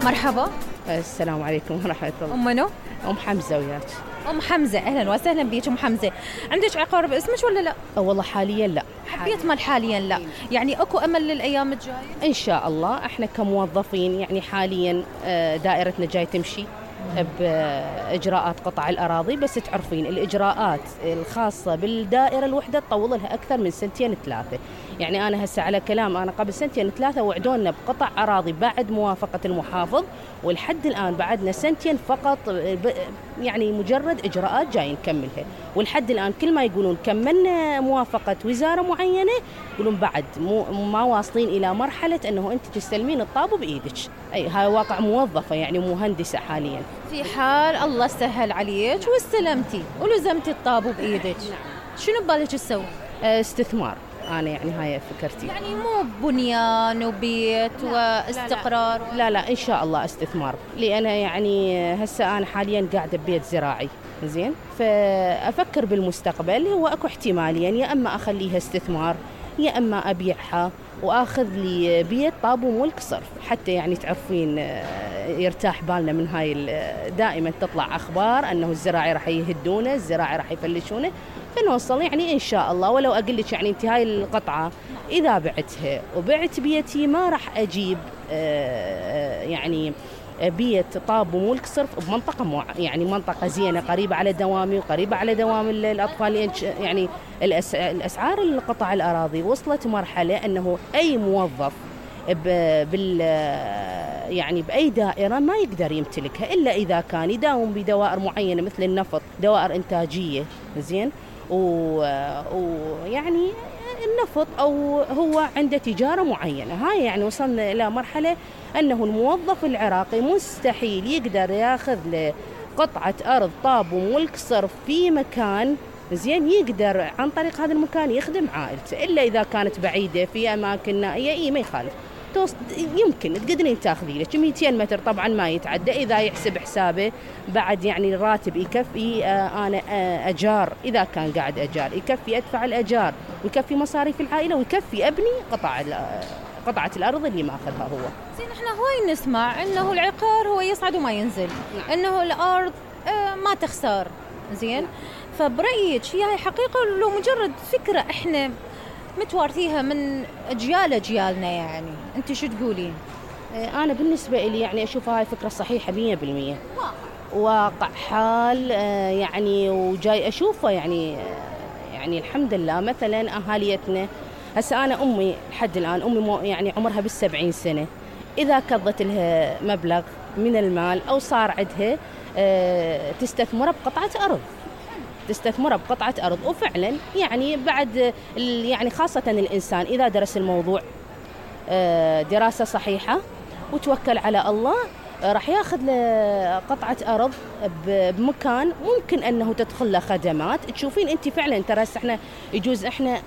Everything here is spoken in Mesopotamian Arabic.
مرحبا. السلام عليكم ورحمة الله. أم منو؟ أم حمزة وياك. أم حمزة، أهلا وسهلا بيك أم حمزة. عندك عقار باسمك ولا لا؟ والله حاليا لا. حبيت مال حاليا لا، يعني أكو أمل للأيام الجاية؟ إن شاء الله احنا كموظفين يعني حاليا دائرتنا جاي تمشي بإجراءات قطع الأراضي، بس تعرفين الإجراءات الخاصة بالدائرة الوحدة تطول لها أكثر من 2-3 سنين. يعني أنا هسه على كلام أنا قبل 2-3 وعدونا بقطع أراضي بعد موافقة المحافظ، والحد الآن بعدنا 2 فقط، يعني مجرد إجراءات جاي نكملها، والحد الآن كل ما يقولون كملنا موافقة وزارة معينة يقولون بعد ما واصلين إلى مرحلة أنه أنت تستلمين الطابو بإيدك. أي هاي واقع موظفة يعني مهندسة حاليا. في حال الله سهل عليك واستلمتي ولزمتي الطابو بإيدك، شنو ببالك تسوي؟ استثمار. أنا يعني هاي فكرتي، يعني مو بنيان وبيت واستقرار. لا إن شاء الله استثمار، لأن يعني هسه أنا حاليا قاعدة ببيت زراعي زين، فأفكر بالمستقبل هو أكو احتمالين، يا أما أخليها استثمار يا أما أبيعها وآخذ لي بيت طابو ملك صرف، حتى يعني تعرفين يرتاح بالنا من هاي دائما تطلع أخبار أنه الزراعي راح يهدونه، الزراعي راح يفلشونه، فنوصل يعني إن شاء الله. ولو أقول لك يعني أنت هاي القطعة إذا بعتها وبعت بيتي ما راح أجيب يعني بيت طابو ملك صرف بمنطقة يعني منطقة زينة قريبة على دوامي وقريبة على دوام الأطفال. يعني الأسعار القطع الأراضي وصلت مرحلة أنه أي موظف يعني بأي دائرة ما يقدر يمتلكها إلا إذا كان يداوم بدوائر معينة مثل النفط، دوائر إنتاجية زين، ويعني النفط أو هو عنده تجارة معينة. هاي يعني وصلنا إلى مرحلة أنه الموظف العراقي مستحيل يقدر ياخذ له قطعة أرض طابو ملك صرف في مكان زين يقدر عن طريق هذا المكان يخدم عائلته، إلا إذا كانت بعيدة في أماكن نائية ما يخالف يمكن تقدرين تاخذي لك 200 متر، طبعا ما يتعدى إذا يحسب حسابه بعد، يعني الراتب يكفي أنا أجار إذا كان قاعد أجار، يكفي أدفع الأجار ويكفي مصاريف العائلة ويكفي أبني قطعة الأرض اللي ما أخذها هو. زين احنا هواي نسمع إنه العقار هو يصعد وما ينزل، إنه الأرض ما تخسر، زين، فبرأيك هي حقيقة لو مجرد فكرة إحنا متوارثيها من أجيالنا؟ يعني أنت شو تقولين؟ أنا بالنسبة لي يعني أشوف هاي فكرة صحيحة 100%، واقع حال يعني وجاي أشوفه يعني الحمد لله. مثلا أهاليتنا هسه أنا أمي لحد الآن أمي يعني عمرها بال70 سنة، إذا كضت لها مبلغ من المال أو صار عندها تستثمر بقطعة أرض، وفعلا يعني بعد يعني خاصة الإنسان إذا درس الموضوع دراسة صحيحة وتوكل على الله راح ياخذ له قطعة أرض بمكان ممكن أنه تدخل له خدمات. تشوفين أنت فعلا ترى احنا يجوز احنا